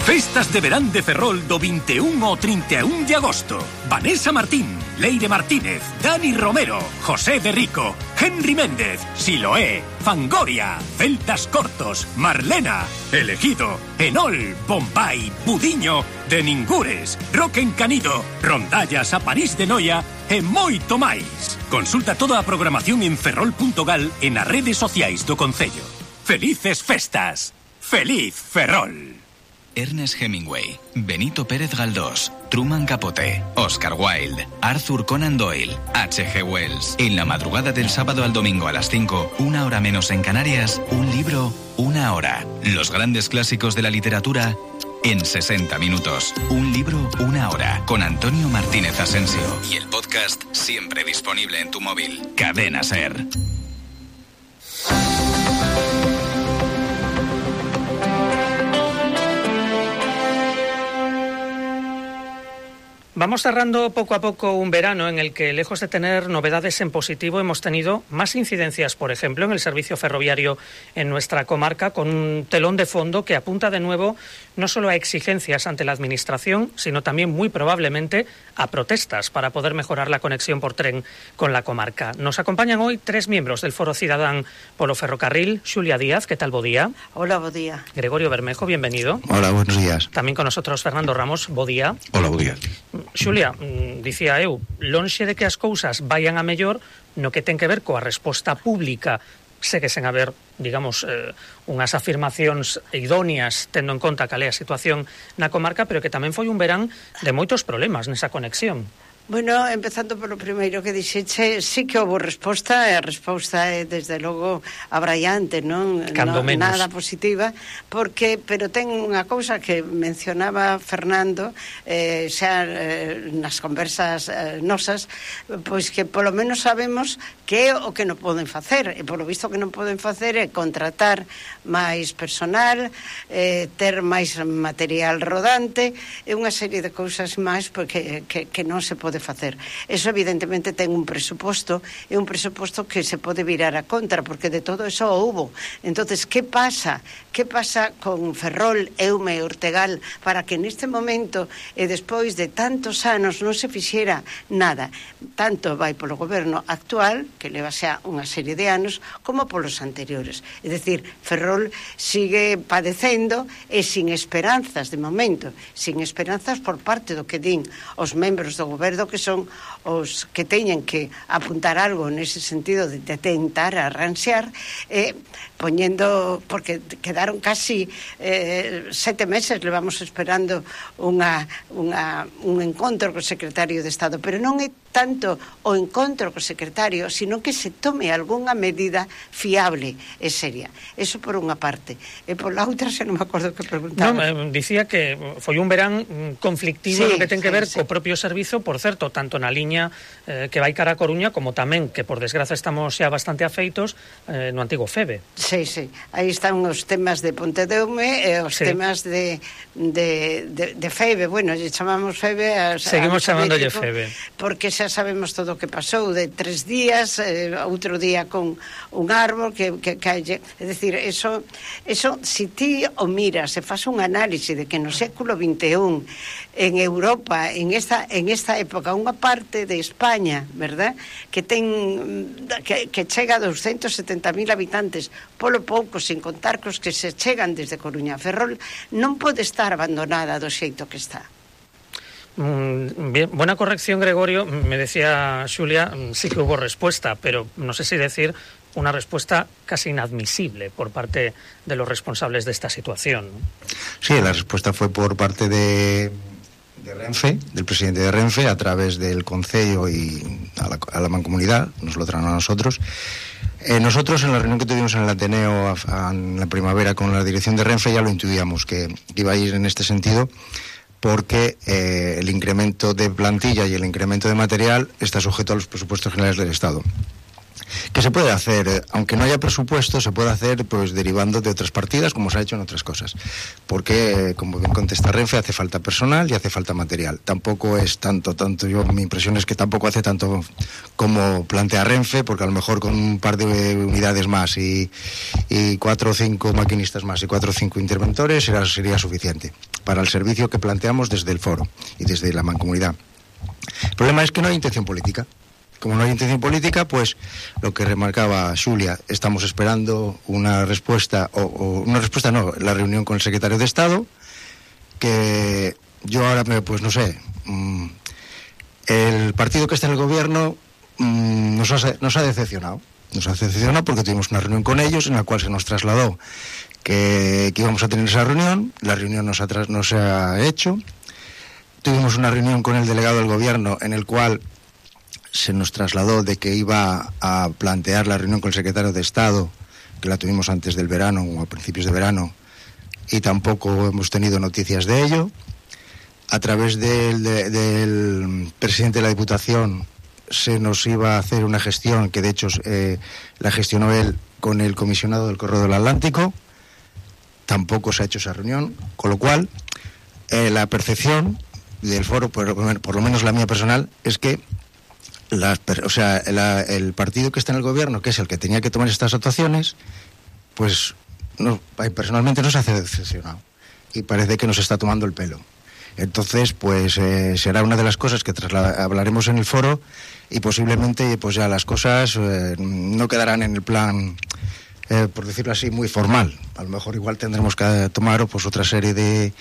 Festas de verán de Ferrol do 21 ao 31 de agosto. Vanessa Martín, Leire Martínez, Dani Romero, José de Rico, Henry Méndez, Siloé, Fangoria, Celtas Cortos, Marlena, Elegido, Enol, Bombay, Budiño, De Ningures, Rock Encanido, Rondallas a París de Noia e moito máis. Consulta toda a programación en ferrol.gal e nas redes sociais do Concello. Felices festas. Feliz Ferrol. Ernest Hemingway, Benito Pérez Galdós, Truman Capote, Oscar Wilde, Arthur Conan Doyle, H.G. Wells. En la madrugada del sábado al domingo a las 5, 1 hora menos en Canarias, un libro, 1 hora. Los grandes clásicos de la literatura en 60 minutos. Un libro, 1 hora. Con Antonio Martínez Asensio. Y el podcast siempre disponible en tu móvil. Cadena SER. Vamos cerrando poco a poco un verano en el que, lejos de tener novedades en positivo, hemos tenido más incidencias, por ejemplo, en el servicio ferroviario en nuestra comarca, con un telón de fondo que apunta de nuevo no solo a exigencias ante la Administración, sino también muy probablemente a protestas para poder mejorar la conexión por tren con la comarca. Nos acompañan hoy 3 miembros del Foro Cidadán polo Ferrocarril. Xulia Díaz, ¿qué tal? Bo día. Hola, bo día. Gregorio Bermejo, bienvenido. Hola, buenos días. Tamén con nosotros Fernando Ramos, bo día. Hola, bo día. Xulia, dicía eu, lonxe de que as cousas vayan a mellor, no que ten que ver coa resposta pública, segue sen haber, digamos, unhas afirmacións idóneas tendo en conta cal é a situación na comarca, pero que tamén foi un verán de moitos problemas nesa conexión. Bueno, empezando polo primeiro que dixeche, sí que houve resposta, e a resposta é, desde logo, abraiante, non? Nada positiva, pero ten unha cousa que mencionaba Fernando, xa nas conversas nosas, pois que polo menos sabemos que é o que non poden facer, e polo visto que non poden facer é contratar máis personal, ter máis material rodante, e unha serie de cousas máis porque que non se pode facer. Eso evidentemente ten un presuposto, e un presuposto que se pode virar a contra, porque de todo eso houbo. Entonces, que pasa? Que pasa con Ferrol, Eume e Ortegal para que neste momento e despois de tantos anos non se fixera nada? Tanto vai polo goberno actual, que leva xa unha serie de anos, como polos anteriores. É dicir, Ferrol sigue padecendo e sin esperanzas de momento, sin esperanzas por parte do que din os membros do goberno, que son os que teñen que apuntar algo nese sentido de tentar arranxar, poñendo, porque quedaron casi 7 meses, levamos esperando un encontro co secretario de Estado, pero non é tanto o encontro co secretario, sino que se tome algunha medida fiable e seria. Eso por unha parte. E por la outra, xa non me acordo que preguntaba. Non, dicía que foi un verán conflictivo, no que ten que ver co propio servizo, por certo, tanto na liña que vai cara a Coruña, como tamén, que por desgraza estamos xa bastante afeitos, no antigo FEBE. Sí. Aí están os temas de Pontedeume e os temas de FEBE. Bueno, lle chamamos FEBE. Seguimos chamándolle FEBE. Porque xa sabemos todo o que pasou de 3 días, outro día con un árbol que calle. É dicir, eso si ti o miras e faz un análise de que no século XXI en Europa, en esta época, unha parte de España, verdad, que chega a 270.000 habitantes, polo pouco, sin contar cos que se chegan desde Coruña a Ferrol, non pode estar abandonada do xeito que está. Bien, buena corrección, Gregorio. Me decía Xulia, sí que hubo respuesta, pero no sé si decir una respuesta casi inadmisible por parte de los responsables de esta situación, ¿no? Sí, la respuesta fue por parte de Renfe, del presidente de Renfe, a través del Concello y a la Mancomunidad, nos lo traen a nosotros. Nosotros, en la reunión que tuvimos en el Ateneo en la primavera con la dirección de Renfe, ya lo intuíamos que iba a ir en este sentido, porque el incremento de plantilla y el incremento de material está sujeto a los presupuestos generales del Estado. que se puede hacer, aunque no haya presupuesto, se puede hacer pues derivando de otras partidas, como se ha hecho en otras cosas, porque como bien contesta Renfe, hace falta personal y hace falta material. Tampoco es tanto, mi impresión es que tampoco hace tanto como plantea Renfe, porque a lo mejor con un par de unidades más y 4 o 5 maquinistas más y 4 o 5 interventores sería suficiente para el servicio que planteamos desde el foro y desde la mancomunidad. El problema es que no hay intención política. Como no hay intención política, pues lo que remarcaba Xulia, estamos esperando una respuesta, la reunión con el secretario de Estado, que yo ahora, pues no sé, el partido que está en el gobierno nos ha decepcionado. Nos ha decepcionado porque tuvimos una reunión con ellos en la cual se nos trasladó que íbamos a tener esa reunión. La reunión no se ha hecho. Tuvimos una reunión con el delegado del gobierno en el cual se nos trasladó de que iba a plantear la reunión con el secretario de Estado, que la tuvimos antes del verano o a principios de verano, y tampoco hemos tenido noticias de ello. A través del presidente de la Diputación se nos iba a hacer una gestión que de hecho la gestionó él con el comisionado del Corredor del Atlántico. Tampoco se ha hecho esa reunión, con lo cual la percepción del foro, por lo menos la mía personal, es que el partido que está en el gobierno, que es el que tenía que tomar estas actuaciones, pues personalmente no se hace decepcionado y parece que nos está tomando el pelo. Entonces, pues será una de las cosas que hablaremos en el foro y posiblemente pues ya las cosas no quedarán en el plan, por decirlo así, muy formal. A lo mejor igual tendremos que tomar pues otra serie de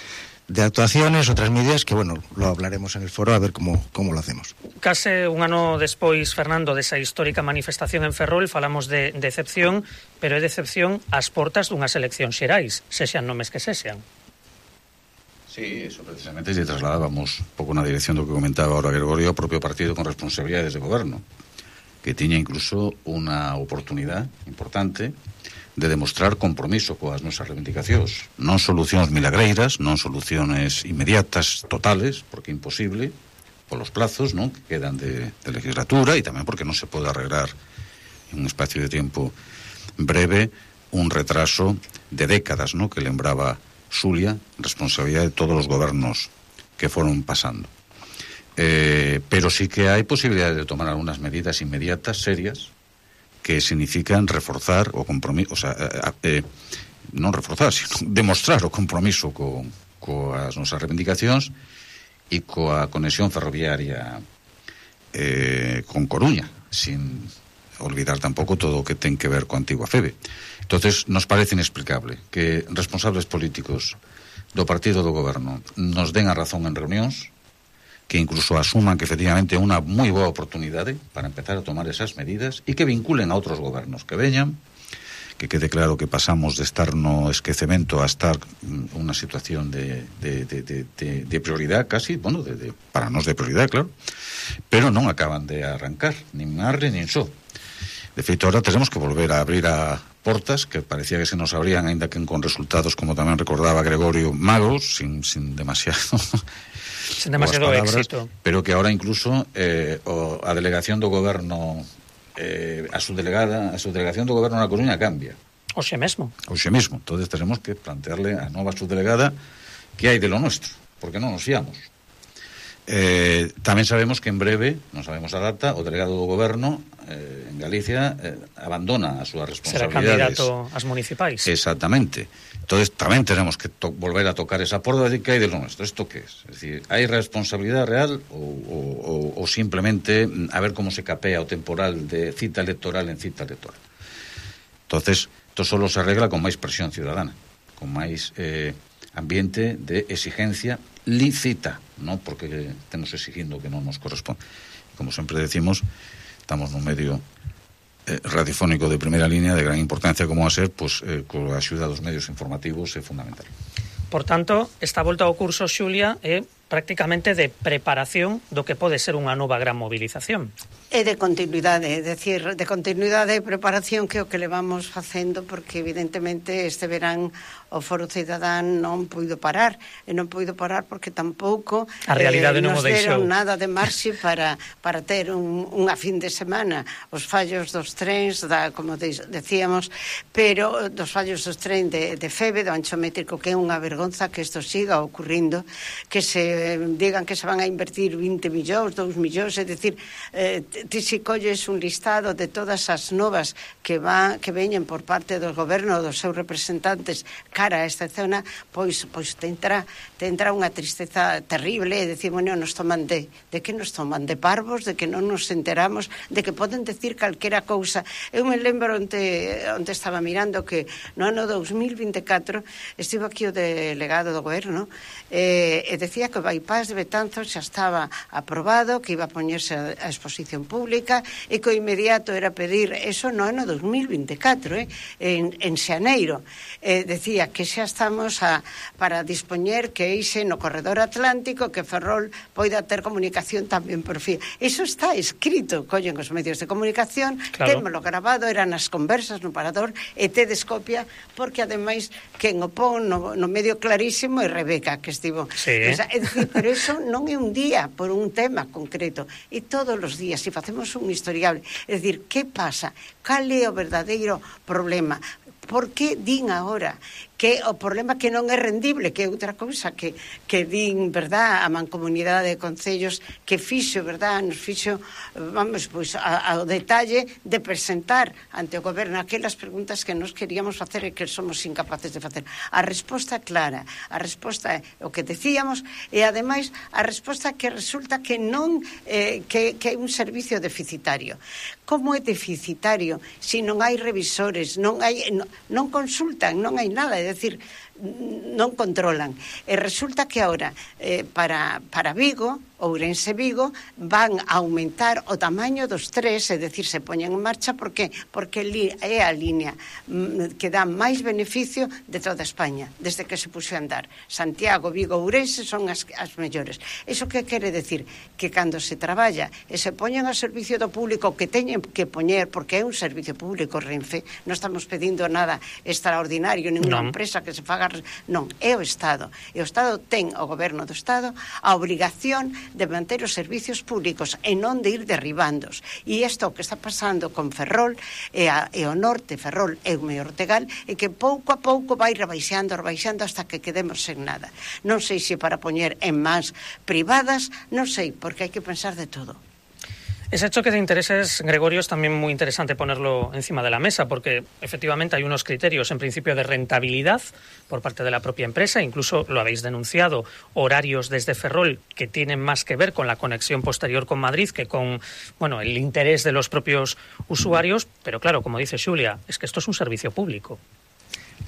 actuaciones, otras medidas que, bueno, lo hablaremos en el foro a ver cómo lo hacemos. Case un ano despois, Fernando, desa histórica manifestación en Ferrol, falamos de decepción, pero é decepción ás portas dunhas eleccións xerais, sexan nomes que sexan. Sí, eso precisamente lle trasladábamos un pouco na dirección do que comentaba ahora Gregorio, o propio partido con responsabilidades de goberno, que tiña incluso unha oportunidade importante de demostrar compromiso coas nosas reivindicacións, non solucións milagreiras, non soluciones inmediatas, totales, porque é imposible, polos plazos, non, que quedan de legislatura, e tamén porque non se pode arreglar en un espacio de tempo breve un retraso de décadas, non, que lembraba Xulia, responsabilidade de todos os gobernos que foron pasando. Pero sí que hai posibilidade de tomar algunhas medidas inmediatas, serias, que significan reforzar o compromiso, non reforzar, sino demostrar o compromiso coas nosas reivindicacións e coa conexión ferroviaria con Coruña, sin olvidar tampouco todo o que ten que ver coa antigua FEBE. Entonces, nos parece inexplicable que responsables políticos do partido do goberno nos den a razón en reunións, que incluso asuman que efectivamente é unha moi boa oportunidade para empezar a tomar esas medidas e que vinculen a outros gobernos que veñan, que quede claro que pasamos de estar no esquecemento a estar unha situación de prioridade casi, bueno, para nós de prioridade, claro, pero non acaban de arrancar, nin arre nin só. De feito, ahora tenemos que volver a abrir a portas que parecía que se nos abrían, aínda que con resultados, como tamén recordaba Gregorio, magos, sin demasiado palabras, éxito, pero que ahora incluso a delegación do goberno, a subdelegación do goberno na Coruña cambia. Hoxe mesmo. Entonces tenemos que plantearle a nova subdelegada que hai de lo nuestro, porque non nos fiamos. Tamén sabemos que en breve, non sabemos a data, o delegado do goberno en Galicia abandona as súas responsabilidades. Será candidato ás municipais. Exactamente. Entonces tamén tenemos que volver a tocar esa porta de que hai de lo nuestro. ¿Esto qué es? Es decir, ¿hai responsabilidade real o simplemente a ver cómo se capea o temporal de cita electoral en cita electoral? Entonces, esto solo se arregla con máis presión ciudadana, con máis ambiente de exigencia lícita, non porque estemos exigindo que non nos corresponde. Como sempre decimos, estamos nun medio radiofónico de primeira línea de gran importancia como a ser, pues, coa axuda dos medios informativos é fundamental. Por tanto, esta volta ao curso, Xulia, é prácticamente de preparación do que pode ser unha nova gran movilización. E de continuidade, é dicir, de continuidade e preparación que é o que levamos facendo, porque evidentemente este verán o Foro Cidadán non puido parar, e non puido parar porque tampouco a realidade non o nos deixou. deron nada de marxe para ter unha fin de semana. Os fallos dos trens, como decíamos, pero dos fallos dos trens de Feve, do ancho métrico, que é unha vergonza que isto siga ocurrindo, que se digan que se van a invertir 20 millóns, 2 millóns, é dicir, ti si colles un listado de todas as novas que veñen por parte do goberno, dos seus representantes cara a esta zona, pois te entra unha tristeza terrible, e decir, bueno, nos toman de que nos toman? De parvos, de que non nos enteramos, de que poden decir calquera cousa. Eu me lembro onde estaba mirando que no ano 2024 estivo aquí o delegado do goberno e decía que o bypass de Betanzos xa estaba aprobado, que iba a poñerse a exposición pública e que o inmediato era pedir eso no ano 2024, en xaneiro. Decía que xa estamos para dispoñer que eixe no corredor atlántico, que Ferrol poida ter comunicación tamén por fin. Iso está escrito, collen os medios de comunicación, claro. Témolo grabado, eran as conversas no parador, e tedes copia, porque ademais quen o pon no medio clarísimo é Rebeca, que estivo. Sí. É dicir, pero iso non é un día por un tema concreto, e todos os días, se facemos un historiable, é dicir, que pasa? Cal é o verdadeiro problema? Por que din agora que o problema que non é rendible, que é outra cousa que din, verdad, a Mancomunidade de Concellos, que fixo, verdad, nos fixo, vamos, pois, ao detalle de presentar ante o goberno aquelas preguntas que nos queríamos facer e que somos incapaces de facer. A resposta clara, a resposta é o que decíamos, e ademais a resposta que resulta que non que é un servicio deficitario. Como é deficitario se non hai revisores, non consultan, non hai nada, é dicir, non controlan. E resulta que agora para Vigo, Ourense Vigo, van a aumentar o tamaño dos tres, é dicir, se poñen en marcha, porque é a línea que dá máis beneficio de toda España, desde que se puxo a andar. Santiago, Vigo, Ourense son as mellores. Iso que quere decir? Que cando se traballa e se poñen ao servicio do público, que teñen que poñer, porque é un servicio público, Renfe, non estamos pedindo nada extraordinario, ninguna empresa que se faga, non, é o Estado. E o Estado ten, o goberno do Estado, a obrigación de manter os servicios públicos e non de ir derribándos. E isto que está pasando con Ferrol e o norte, Ferrol e o Ortegal, é que pouco a pouco vai rebaixando hasta que quedemos sen nada. Non sei se para poñer en mans privadas, non sei, porque hai que pensar de todo. Ese choque de intereses, Gregorio, es también muy interesante ponerlo encima de la mesa, porque efectivamente hay unos criterios, en principio, de rentabilidad por parte de la propia empresa, incluso lo habéis denunciado, horarios desde Ferrol que tienen más que ver con la conexión posterior con Madrid que con, bueno, el interés de los propios usuarios, pero claro, como dice Xulia, es que esto es un servicio público.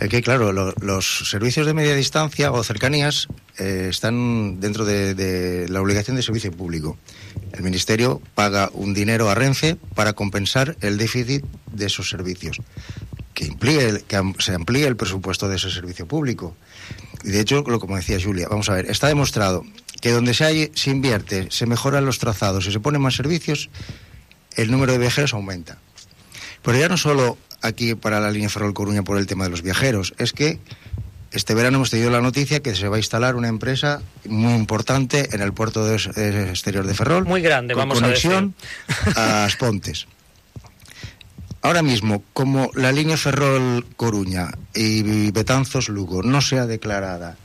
Es que, claro, los servicios de media distancia o cercanías están dentro de la obligación de servicio público. El Ministerio paga un dinero a Renfe para compensar el déficit de esos servicios, que se amplíe el presupuesto de ese servicio público. Y de hecho, como decía Xulia, vamos a ver, está demostrado que donde se invierte, se mejoran los trazados y se ponen más servicios, el número de viajeros aumenta. Pero ya no solo aquí para la línea Ferrol-Coruña por el tema de los viajeros, es que este verano hemos tenido la noticia que se va a instalar una empresa muy importante en el puerto exterior de Ferrol. Muy grande, con vamos a decir. Conexión a As Pontes. Ahora mismo, como la línea Ferrol-Coruña y Betanzos-Lugo no sea declarada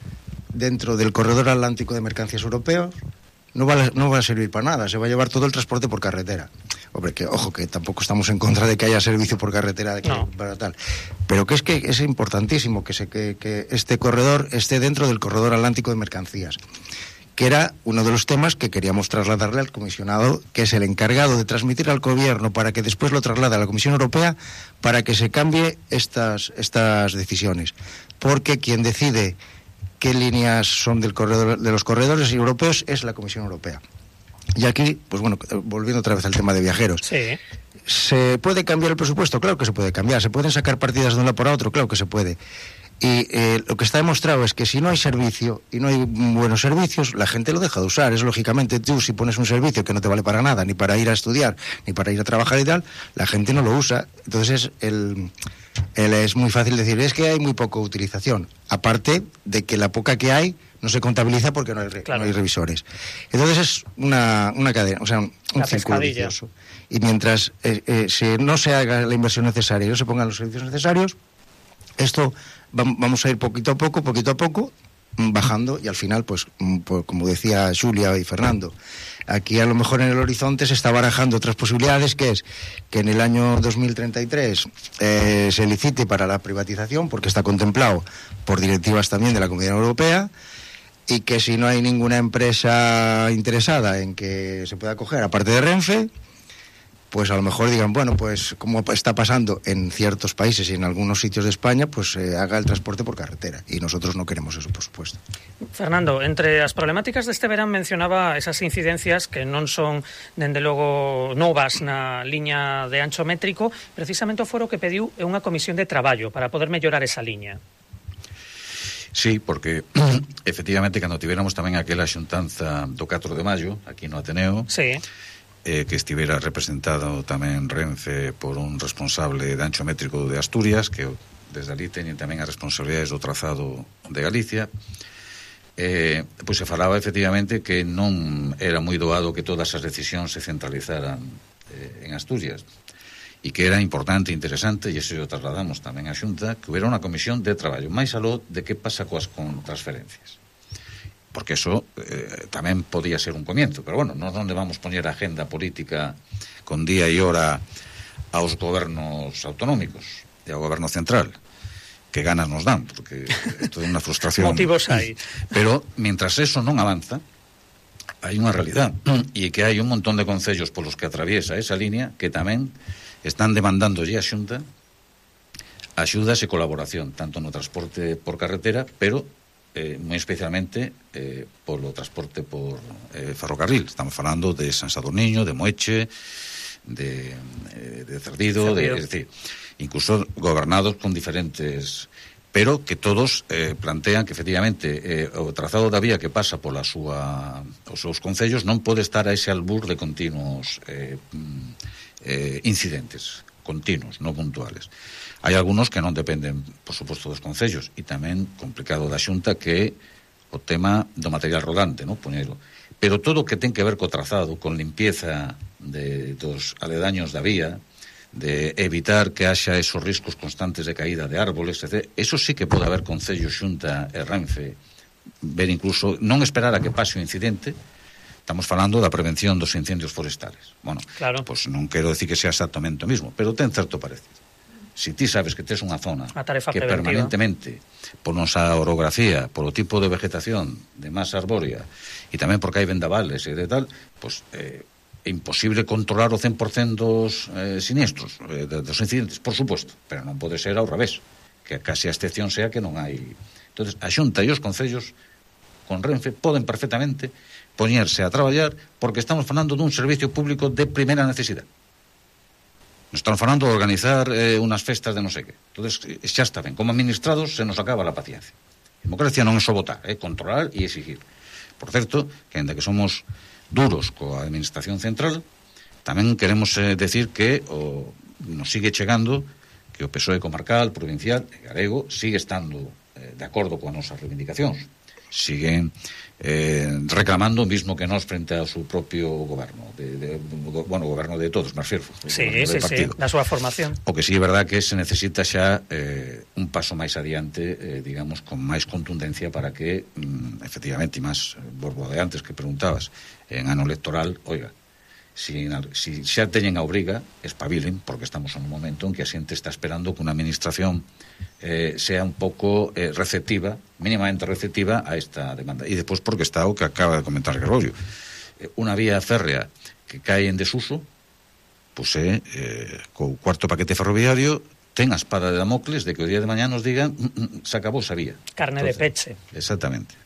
dentro del corredor atlántico de mercancías europeos, no va a servir para nada, se va a llevar todo el transporte por carretera. Hombre, que ojo, que tampoco estamos en contra de que haya servicio por carretera para tal, pero que es importantísimo que este corredor esté dentro del corredor atlántico de mercancías, que era uno de los temas que queríamos trasladarle al comisionado, que es el encargado de transmitir al gobierno para que después lo traslade a la Comisión Europea para que se cambie estas decisiones, porque quien decide qué líneas son de los corredores europeos es la Comisión Europea. Y aquí, pues bueno, volviendo otra vez al tema de viajeros. Sí. ¿Se puede cambiar el presupuesto? Claro que se puede cambiar. ¿Se pueden sacar partidas de un lado para otro? Claro que se puede. Y lo que está demostrado es que si no hay servicio y no hay buenos servicios, la gente lo deja de usar. Es lógicamente, tú si pones un servicio que no te vale para nada, ni para ir a estudiar, ni para ir a trabajar y tal, la gente no lo usa. Entonces es muy fácil decir, es que hay muy poca utilización. Aparte de que la poca que hay no se contabiliza porque no hay revisores. Entonces es una cadena, o sea, un círculo vicioso. Y mientras no se haga la inversión necesaria y no se pongan los servicios necesarios, esto vamos a ir poquito a poco, bajando, y al final, pues como decía Xulia y Fernando, aquí a lo mejor en el horizonte se está barajando otras posibilidades, que es que en el año 2033 se licite para la privatización, porque está contemplado por directivas también de la Comunidad Europea, y que si no hay ninguna empresa interesada en que se pueda coger, aparte de Renfe, pues a lo mejor digan, bueno, pues como está pasando en ciertos países y en algunos sitios de España, pues haga el transporte por carretera, y nosotros no queremos eso, por supuesto. Fernando, entre as problemáticas deste verán mencionaba esas incidencias que non son, dende logo, novas na liña de ancho métrico. Precisamente o foro que pediu é unha comisión de traballo para poder mellorar esa liña. Sí, porque efectivamente cando tivéramos tamén aquela xuntanza do 4 de maio aquí no Ateneo, sí, que estivera representado tamén Renfe por un responsable de ancho métrico de Asturias, que desde ali teñen tamén as responsabilidades do trazado de Galicia, pois se falaba efectivamente que non era moi doado que todas as decisións se centralizaran en Asturias, e que era importante e interesante, e iso o trasladamos tamén á Xunta, que hubiera unha comisión de traballo máis aló de que pasa con transferencias, porque eso tamén podía ser un comienzo, pero bueno, non onde vamos poñer a agenda política con día e hora aos gobernos autonómicos e ao goberno central, que ganas nos dan, porque é toda unha frustración. Motivos hai. Pero, mientras eso non avanza, hai unha realidade, e que hai un montón de concellos polos que atraviesa esa línea que tamén están demandándolle a Xunta axudas e colaboración, tanto no transporte por carretera, pero moi especialmente polo transporte por ferrocarril. Estamos falando de San Sadurniño, de Moeche, de Cerdido, es decir, incluso gobernados con diferentes, pero que todos plantean que efectivamente o trazado da vía que pasa pola os seus concellos non pode estar a ese albur de continuos incidentes continuos, non puntuales. Hai algúns que non dependen, por suposto, dos concellos, e tamén complicado da Xunta, que é o tema do material rodante, non? Poñelo. Pero todo o que ten que ver co trazado, con limpieza dos aledaños da vía, de evitar que haxa esos riscos constantes de caída de árboles, etc. Eso sí que pode haber concello, Xunta e Renfe, ver incluso, non esperar a que pase o incidente. Estamos falando da prevención dos incendios forestales. Bueno, claro, pues non quero decir que sea exactamente o mismo, pero ten certo parecido. Si ti sabes que tes unha zona que permanentemente, por nosa orografía, por o tipo de vegetación de masa arbórea, e tamén porque hai vendavales e de tal, pues é imposible controlar o 100% dos siniestros, dos incidentes, por suposto, pero non pode ser ao revés, que casi a excepción sea que non hai. Entonces, a Xunta e os concellos con Renfe poden perfectamente poñerse a traballar, porque estamos falando dun servicio público de primeira necesidade. Nos estamos falando de organizar unas festas de non sei que. Entonces, xa está ben. Como administrados se nos acaba la paciencia. Democracia non é só votar, é controlar e exigir. Por certo, que ainda que somos duros coa administración central, tamén queremos decir que nos sigue chegando que o PSOE comarcal, provincial e galego sigue estando de acordo coas nosas reivindicacións. Siguen reclamando o mismo que nós frente ao seu propio goberno, bueno, o goberno de todos, me refiero, sí, da súa formación. O que sí é verdad que se necesita xa un paso máis adiante, digamos, con máis contundencia para que, efectivamente, e máis borbo de antes que preguntabas, en ano electoral, oiga, si xa teñen a obriga, espabilen, porque estamos en un momento en que a xente está esperando que unha administración sea un pouco receptiva, mínimamente receptiva a esta demanda. E despois porque está o que acaba de comentar Gregorio, unha vía férrea que cae en desuso, pois co cuarto paquete ferroviario ten a espada de Damocles de que o día de mañá nos digan se acabou esa vía. Carne de peche. Exactamente.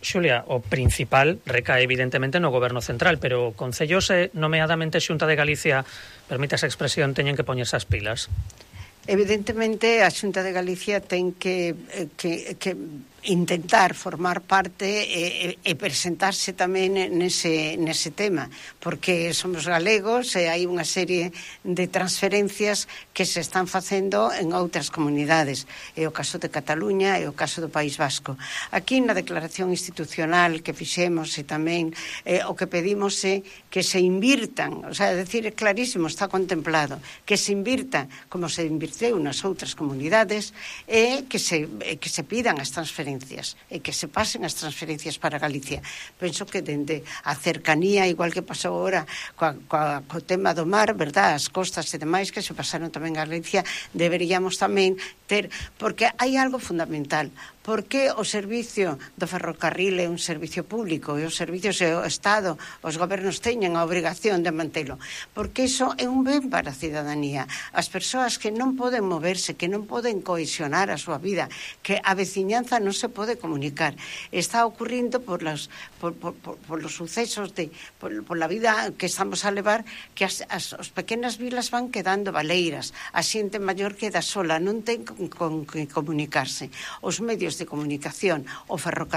Xulia, o principal recae evidentemente no goberno central, pero concellos nomeadamente Xunta de Galicia, permite esa expresión, teñen que poñerse as pilas. Evidentemente, a Xunta de Galicia ten que intentar formar parte e presentarse tamén nese tema, porque somos galegos e hai unha serie de transferencias que se están facendo en outras comunidades. É o caso de Cataluña, é o caso do País Vasco. Aquí na declaración institucional que fixemos e tamén o que pedimos é que se invirtan, o sea, decir, é clarísimo, está contemplado, que se invirta como se invirteu nas outras comunidades e que se pidan as transferencias e que se pasen as transferencias para Galicia. Penso que dende a cercanía, igual que pasou agora co tema do mar, verdad, as costas e demais que se pasaron tamén a Galicia, deberíamos tamén ter, porque hai algo fundamental. Porque o servicio do ferrocarril é un servicio público e os servicios e o Estado, os gobernos teñen a obrigación de mantelo, porque iso é un ben para a cidadanía. As persoas que non poden moverse, que non poden cohesionar a súa vida, que a veciñanza non se pode comunicar, está ocurrindo por los sucesos por la vida que estamos a levar, que as pequenas vilas van quedando baleiras, a xente maior queda sola, non ten con que comunicarse. Os medios de comunicación, o ferrocarril